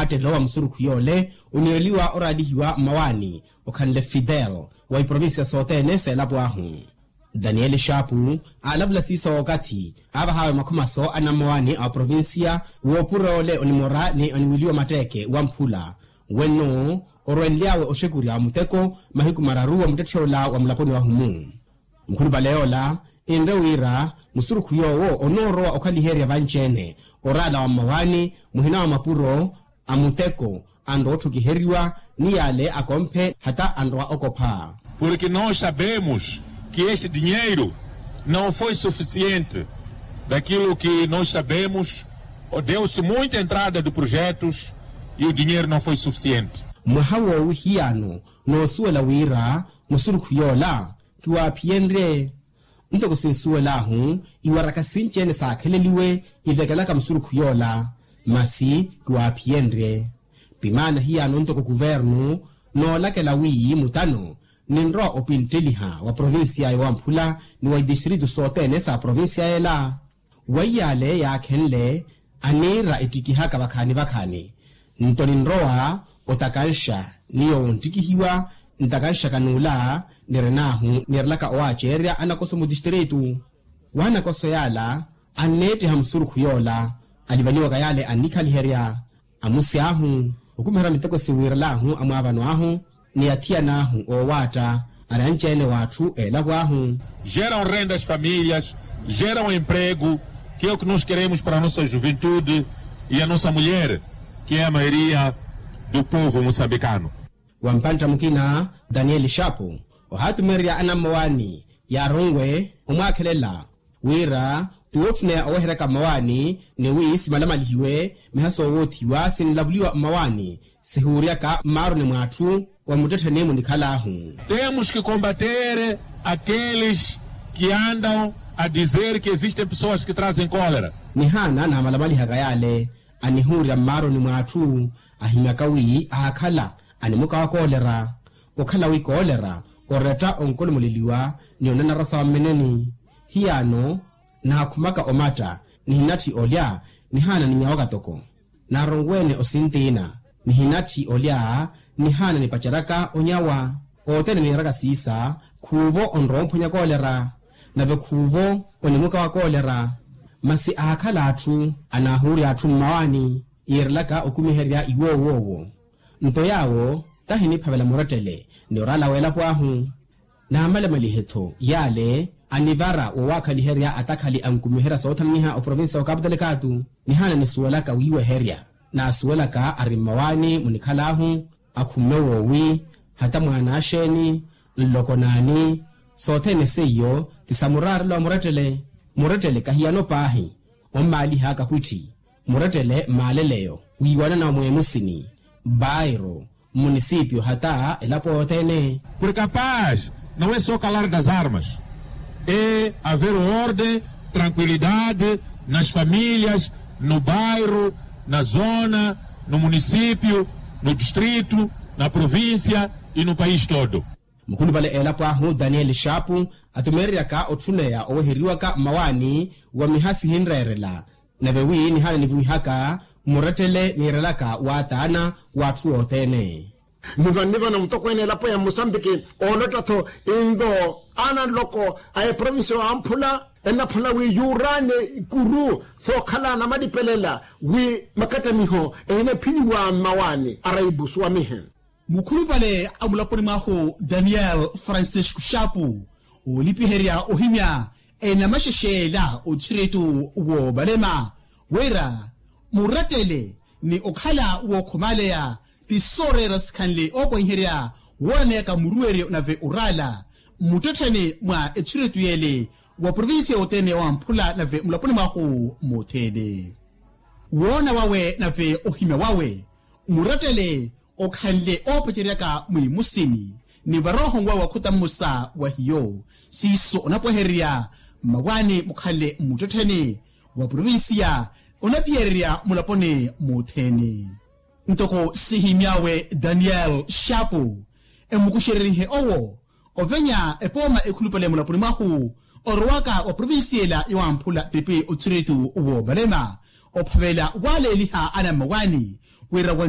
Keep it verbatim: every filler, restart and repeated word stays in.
Attelo wa musurukhu yoole oniireliwa oraalihiwa mmawaani okhanle fidel wa iprovincia sothene seelapo ahu. Daniel shapu aalavula siiso okathi aavahaawe makhomaso a nammawaani a oprovincia woopuroole onimora ni oniwiliwa matteeke wa mphula wenno orwenly'awe oxekurya muteko mahiku mararu wa muttetthe ola wa mulaponi wahu-mu. Mukhulupale yoola enre wira musurukhu yoowo onoorowa okhaliherya vanci-ene oraala wa mmawaani muhina wa mapuro a muteko anrowa otthukiheriwa ni yaale akomphe hata anrowa okopha. Porque nós sabemos que este dinheiro não foi suficiente. Daquilo que nós sabemos, deu-se muita entrada de projetos e o dinheiro não foi suficiente. Mwaha woowi hiyano noosuwela wira musurukhu yoola kiwaaphiyenrye. Ntoko sinsuwel'ahu iwaraka sinci-ene saakheleliwe ivekelaka musurukhu yoola masi kiwaaphiyenrye. Pimaana hiyano ntoko kuvernu noolakela wi mutano ninrowa opintteliha wa provincia ya wamphula ni wa itistritu sothene sa provincia yela. Weiyaale yaakhenle aniira ettikihaka vakhaani vakhaani nto ninrowa otakanxa ni yoowo onttikihiwa ntakanxaka n'ula nirin'ahu niirelaka owaaceererya anakoso mutistritu. W'anakoso yaala anneettiha musurukhu yoola alivaniwaka yaale annikhaliherya amusi ahu okumiherya miteko siwiirel'ahu amwaavano ahu ni athiyan'ahu oowaatta ari anci-ene w'atthu eelapo ahu. Geram rendas famílias, geram emprego, que é o que nós queremos para a nossa juventude e a nossa mulher, que é a maioria do povo moçambicano. Wa mpantta mukina daniel shapu ohaatumererya anammawaani yaaronwe omwaakhelela wira ti woottuneya oweheryaka mmawaani ni wi simalamalihiwe miha soowoothiwa sinlavuliwa mmawaani sihuuryaka mmaaruni mw'atthu wa muttettheni munikhal'ahu. Temos que combater aqueles que andam a dizer que existem pessoas que trazem cólera. Nihaana naamalamalihaka yaale anihuurya mmaaruni mw'atthu ahimyaka wi aakhala animuka wa koolera okhala wi koolera oretta onkolomoleliwa ni onanarasa wa mmeneni. Hiyaano naakhumaka omatta nihinatthi olya nihaana ninyawaka toko naaronweene osintiina nihinatthi olya nihaana nipaceryaka onyawa. Othene niiraka siisa khuuvo onrowa omphwanya koolera nave khuuvo onimuka wa koolera. Masi aakhala atthu anaahuurya atthu mmawaani yiirelaka okumiherya iwoowoowo. Nto yaawo tahi niphavela murettele ni oraala w'elapo ahu. Naamalamalihe-tho yaale anivara wowaakhaliherya atakhali ankumiherya soothaminiha oprovincia wa kaputalekatu. Nihaana nisuwelaka wiiweherya naasuwelaka ari mmawaani munikhal'ahu akhumme woowi hata mwaana axeeni nloko naani. Sothene seiyo ti sa muraarelo wa murettele. Murettele kahiyano paahi ommaaliha akapwitthi murettele mmaaleleyo wiiwanana wa mweemusini bairo mmunisipio hata elapo yothene. Por capaz não é só calar das armas, é haver ordem, tranquilidade nas famílias, no bairro, na zona, no município, no distrito, na província e no país todo. Mukhulupale elapo ahu daniel shapu atumeereryaka otthuneya oweheriwaka mmawaani wa miha sihinreerela nave wi nihaana nivuwihaka murettele niirelaka waataana w'atthu othene. Nivanivana mutokweene elapo ya musambiki oolotta-tho invo ana nloko a eprovincia wa amphula ennaphana wi yuuraane ikuru sookhala namalipelela wi makattamiho ehinephiniwa mmawaani araibu suwamihe. Mukhulupale a mulaponi mwahu daniel francisco shapu oolipiherya ohimya enamaxexeela othiritu woovalema wira murettele ni okhala wookhomaleya ti sooreera sikhanle oopwaiherya wooraneyaka muruweryo nave oraala mmuttettheni mwa ethiritu yeele wa provincia yothene ya wamphula nave mulaponi mwahu mothene. Woona wawe nave ohimya wawe murettele okhanle oopacereryaka mwiimusini ni varooho nwawe wa khuta mmosa wa hiyo siiso onapwehererya mmawaani mukhanle mmuttettheni wa provincia onaphiyererya mulaponi mothene. Ntoko sihimy'awe daniel shapu emukuxererihe owo ovenya epooma ekhulupale mulaponi mwahu orowaka wa provincia ela yowamphula tipi othiritu woovalema ophavela waaleeliha anammawaani wira